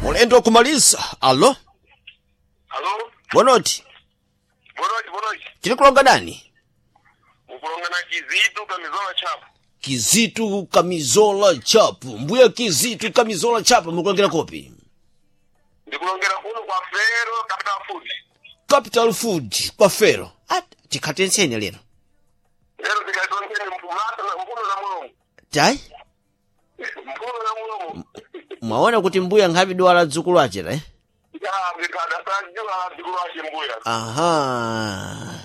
Mulendo kumaliza. Alo, Alo, bonoti, bonochi bonochi. tiri kulonga nani? Mukulonga na Kizitu Kamizola Chapu. Kizitu Kamizola Chapu. Mbuya Kizitu Kamizola Chapu mukulongera kopi. Ndikulongera kuno kwa Fero Capital Food. Capital Food kwa Fero. Ah, tikhate ntsene lero. Lero tikatonkeni mpumata na mpuno na mulomo. Tai, Mpuno na mulomo. mwaona kuti mbuya nkhapi dwala dzukulu achera eh? Ya ndikada sajua dzukulu ache mbuya. Aha.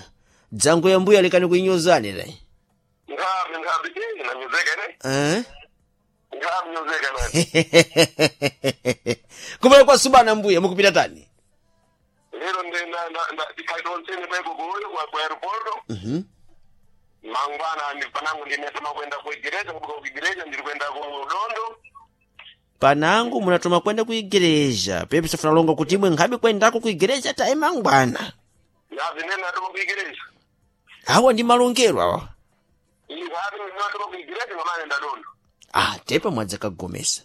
Dzangu ya mbuya likani kuinyozani lai. Nkhapi nkhapi eh nanyozeka ne. Eh? Nkhapi nyozeka ne. Kumene kwa subana mbuya mukupita tani? Lero ndi na na tikatonkeni peko kuyo kwa kwa aeroporto. Mhm. Mangwana ndi panangu ndinetama kwenda ku igreja kubuka ku igreja ndiri kwenda ku Dondo. Panangu munatoma kwenda ku igreja. Pepe safunalonga kuti imwe nkhabi kwendako ku igreja tayi mangwana. Ya vinene natoma ku igreja. Awa ndi malongero awa. Nkhapi ndinatoma ku igreja ngamane ndadondo. Ah, tepa mwadzakagomesa.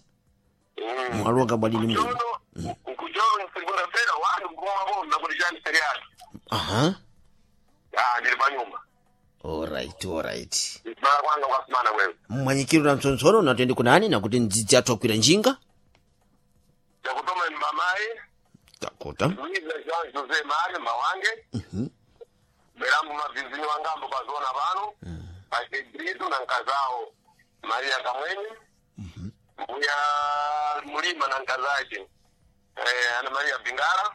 Mm. Mwalonga bwadini mwini. Kuchono, kuchono segunda-feira wanu kumabona kuti chani seriali. Aha. Ah, ndiri panyumba. Alright, alright. Mara kwanga kwasimana wewe. Mmwanyikiro na mtsontsoro natende kunani nakuti ndzidzi athu akwira njinga? Chakutoma ni mamayi, Takuta. Luiza Jean José Mário Mawange. Berambo mavizinho wangambo pazona pano. Pachebrito na nkazao Maria Kamweni. Mbuya Mulima na nkazache. Eh, Ana Maria Bingara.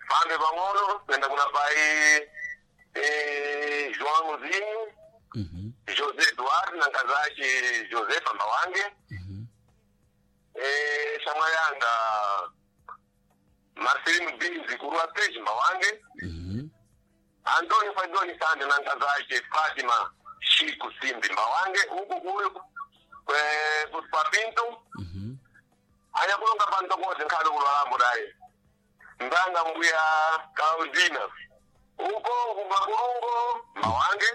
Fambe pang'ono kwenda kuna pai eh, João Zinho. José Eduardo na nkazache Josefa Mawange. Eh, Shamayanga Marcelino Binzi Kurua Page Mawange. Antônio Fadoni Sande na nkazache Fatima Chico Simbi Mawange huku kuyo eh, kutupa Pinto. Anyakulonga pantokoze nkhale kulwalambo daye ndanga mbuya Claudina uko kumakulungo Mawange.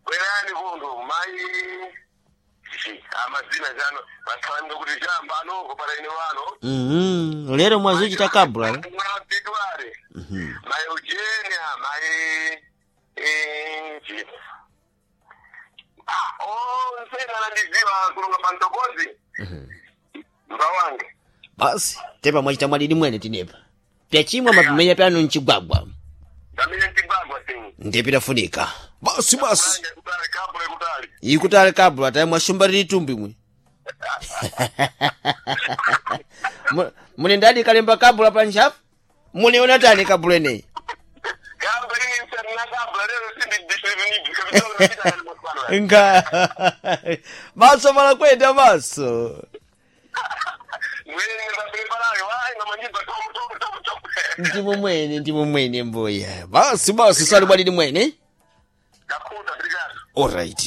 Bwerani vundu mai amazina jano vasalamika kuti jamba anoko para ine wano Mhm. Lero mwazuchita kabla. eh? February mai Eugenia mai eh, ah onse nanandiziva kulonga pantokozi mbawange Basi, tepa mwachita mwadidi mwene tinepa. Pyachimwa mapimenya pyanu mchigwagwa. ndamene mtigwagwa sinu Ndipitafunika. Basi basi. kutali kabule kutali Ikutali kabla tayi mwashumba lili tumbi mwe. Mune ndadi kalemba kabla pa ntchafu? Muneona tani kabula ineyi? kabla ini msarina kabla lero sindi Nga. Maso mala kwenda maso. Ndimo mwene, ndimo mwene mbuya. Basi basi, sali bwadidi mwene. Kakuta, obrigado. Alright.